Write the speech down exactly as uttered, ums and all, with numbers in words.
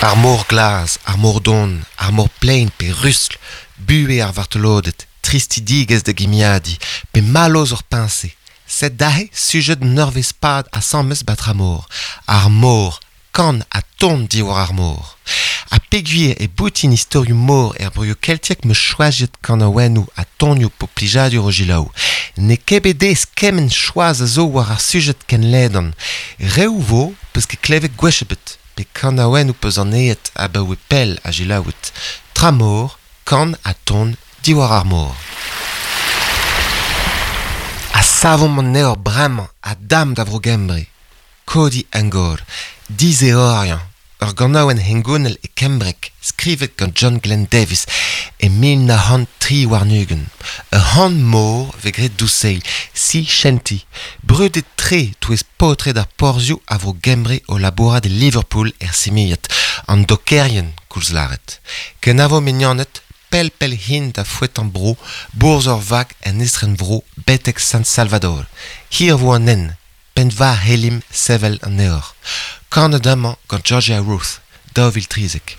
Ar mor glas, ar mor don, ar mor plaen pe rustl, buhez ar vartoloded, tristidigezh da gimiadiñ, pe mallozh ur peñse. Sed aze sujed un eurvezh-pad asambles 'ba Tramor. Ar mor, kan ha ton diwar ar mor. Ha peogwir e boutin istorioù mor er broioù keltiek 'm eus choazet kanaouennoù ha tonioù 'po plijadur o selaou. N'eo ket bet aes kement choaz a zo war ar sujed ken ledan. Reoù 'vo 'peus ket klevet gwech ebet, pe kanaouennoù 'peus anavezet abaoe pell ha selaouet. Tramor, kan ha ton diwar ar mor. Ha savomp an eor bremañ ha damp da Vro-Gembre. Codi Angor, dizeoriañ, ur ganaouenn hengounel e kembreg skrivet gant John Glenn Davies e mil nav c'hant tri warn-ugent. Ur c'han-mor 'vez graet douseiñ, Sea Shanty, brudet-tre 'touez paotred ar porzhioù a Vro-Gembre o labourat e Liverpool er Simiad, an dokerien koulz lâret. Kenavo mignoned, pell-pell hin da foetañ bro, bourzh ur vag en estrenvro betek San Salvador. Hir 'vo an hent, penn-war c'hellimp sevel an eor. Kanet amañ gant Georgia Ruth, daou vil trizek.